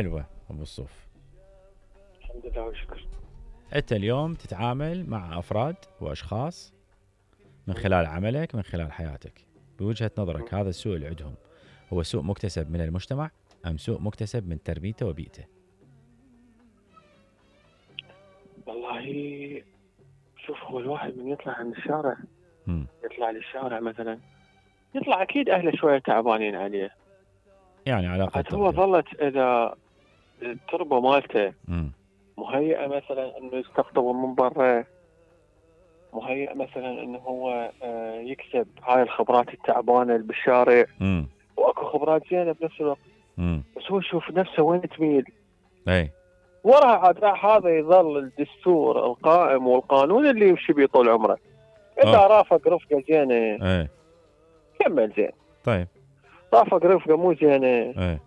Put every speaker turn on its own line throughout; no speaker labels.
حلوة ابو الصوف.
الحمد لله والشكر.
انت اليوم تتعامل مع افراد واشخاص من خلال عملك، من خلال حياتك، بوجهة نظرك هذا السوء اللي عندهم هو سوء مكتسب من المجتمع ام سوء مكتسب من تربيته وبيئته؟
والله شوف، هو الواحد من يطلع من الشارع يطلع للشارع مثلا، يطلع اكيد اهله شويه تعبانين عليه،
يعني علاقة
هو ظلت اذا التربه مالته مهيئه مثلا انه يستقطب من برا، مهيئ مثلا انه هو يكسب هاي الخبرات التعبانه اللي بالشارع، واكو خبرات زينه بنفس الوقت، بس هو يشوف نفسه وين تميل،
اي
وراها عاد راح هذا يظل الدستور القائم والقانون اللي يمشي بيه طول عمره. اذا رافق رفقه زينه كمل زين،
طيب
رافق رفقه مو زينه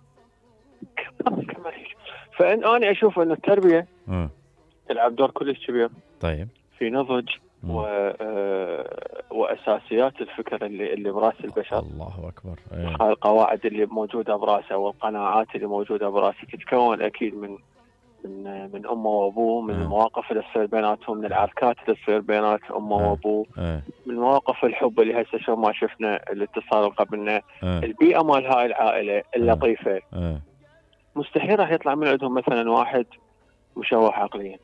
فان انا اشوف ان التربيه تلعب دور كلش كبير
طيب
في نضج واساسيات الفكر اللي براس البشر.
الله اكبر.
هاي القواعد اللي موجوده براسه والقناعات اللي موجوده براسه تتكون اكيد من امه وابوه، من المواقف اللي تصير بيناتهم، من العركات اللي تصير بينات امه وابوه، من مواقف الحب اللي هسه شو ما شفنا الاتصال اللي قبلنا، البيئه مال هاي العائله اللطيفه. مستحيل راح يطلع من عندهم مثلا واحد مشوه عقليا.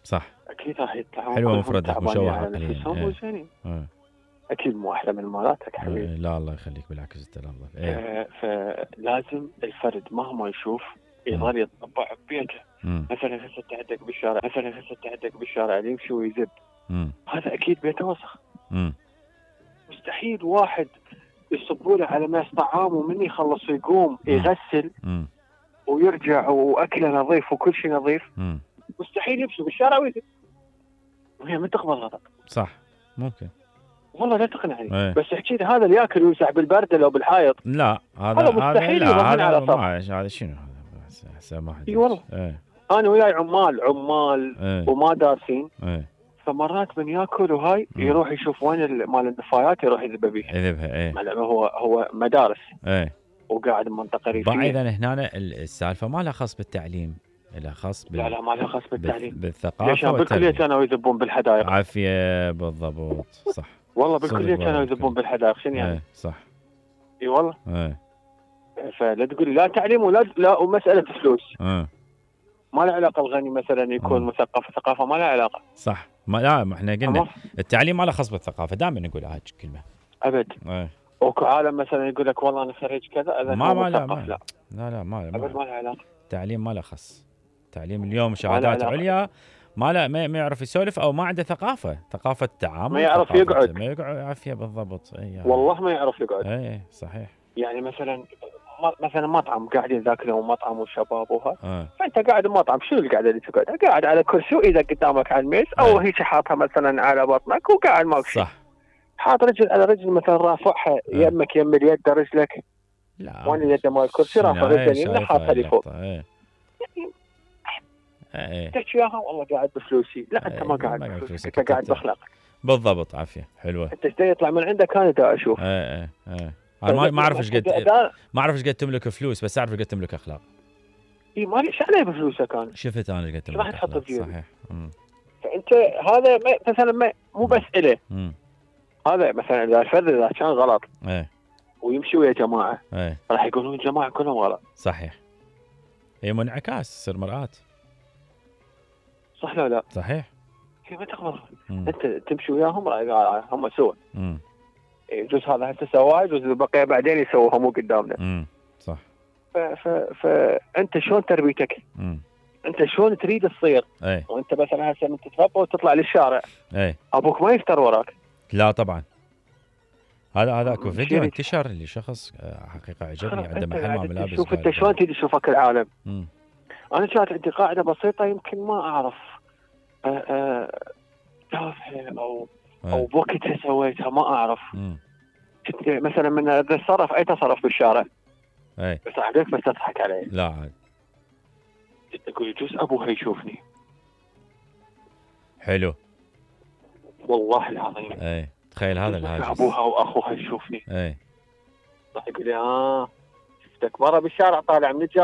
صح،
اكيد راح يطلعون
حلوه مفردك مشوه عقليا.
اكيد مو احلى من مالاتك حبيبي.
لا الله يخليك، بالعكس انت الافضل.
فلازم الفرد مهما يشوف يظل يتطبع ببيته. مثلا هسه عندك بالشارع اللي يمشي ويزب، هذا اكيد بيته وسخ. مستحيل واحد يصبوا له على ماس طعام ومن يخلص يقوم يغسل ويرجع واكله نظيف وكل شيء نظيف. مستحيل يمشي بالشارع ويزب، وهي من تقبل غلط.
صح ممكن
والله لا تقنعني. بس احكي لي هذا اللي ياكل ويمسح بالبرد لو بالحائط،
لا هذا
مستحيل يضمن على طبخ.
هذا شنو هذا ما حد.
اي والله انا وياي عمال وما دارسين، فمرات من ياكل وهاي يروح يشوف وين مال النفايات يروح يذبها. هو مدارس وقاعد بمنطقه ريفيه.
اذا هنا السالفه ما لها خاص بالتعليم، لها خاص
لا ما لها خاص بالتعليم،
بالثقافه.
ليش بالكليه كانوا يذبون بالحدائق؟
عافيه بالضبط صح.
والله بالكليه كانوا يذبون بالحدائق، شنو يعني؟
صح
اي والله. فلا تقول لي لا تعليم لا ومساله فلوس. ما له علاقه الغني مثلا يكون مثقف، الثقافه ما لها علاقه.
صح، ما احنا قلنا التعليم ما له خاص بالثقافه، دائما نقول هاي الكلمه
ابد. وكو عالم مثلا يقول لك والله انا خريج كذا اذا
ما
مثقف.
لا ما
ابد ما له علاقه.
التعليم ما له خص. التعليم اليوم شهادات عليا ما يعرف يسولف او ما عنده ثقافه تعامل،
ما يعرف يقعد،
ما يقعد عافيه بالضبط.
والله ما يعرف يقعد.
اي صحيح.
يعني مثلا مطعم قاعدين ذاكلون مطعم وشباب وها فانت قاعد بمطعم، شنو القعده اللي تقعد؟ قاعد على كرسي واذا قدامك على الميز او هيك حاطها مثلا على بطنك وقاعد ماك شيء.
صح،
حاط رجل على رجل مثلا رافعها يمك يم اليد رجلك.
لا
وين اليد مال الكرسي رافع رجل يمين حاطها لي فوق. تحكي وياها والله قاعد بفلوسي، لا انت ما قاعد بفلوسك، انت قاعد باخلاقك.
بالضبط عافيه حلوه.
انت ايش يطلع من عندك انا دا اشوف.
انا ما اعرف ايش قد تملك فلوس، بس اعرف ايش قد تملك اخلاق.
اي ما ليش عليه بفلوسك انا
شفت انا ايش قد تملك اخلاق. صحيح.
فانت هذا مثلا مو بس إله. هذا مثلا اذا الفرد اذا كان غلط ويمشي ويا جماعه راح يقولون الجماعه كلهم غلط.
صحيح، هي منعكاس تصير مرآة.
صح لا
صحيح.
هي ما تقبل. انت تمشي وياهم هم سووا. يجوز هذا هسه سواه، يجوز البقيه بعدين يسووها مو قدامنا.
صح.
فانت شلون تربيتك؟ انت شلون تريد تصير؟ وانت مثلا هسه من تتربى وتطلع للشارع ابوك ما يفتر وراك.
لا طبعا. هذا اكو فيديو انتشر لشخص حقيقه عجبني عنده محل مال ملابس.
شوف انت شلون تريد تشوفك العالم. انا كانت عندي قاعده بسيطه يمكن ما اعرف او بوقتها سويتها ما اعرف. كنت مثلا من اتصرف اي تصرف بالشارع بس عليك بس تضحك علي.
لا عاد
اقول يجوز ابوها يشوفني.
حلو
والله العظيم.
تخيل هذا الهاجس،
ابوها واخوها يشوفني.
اي
راح يقول لي شفتك مره بالشارع طالع من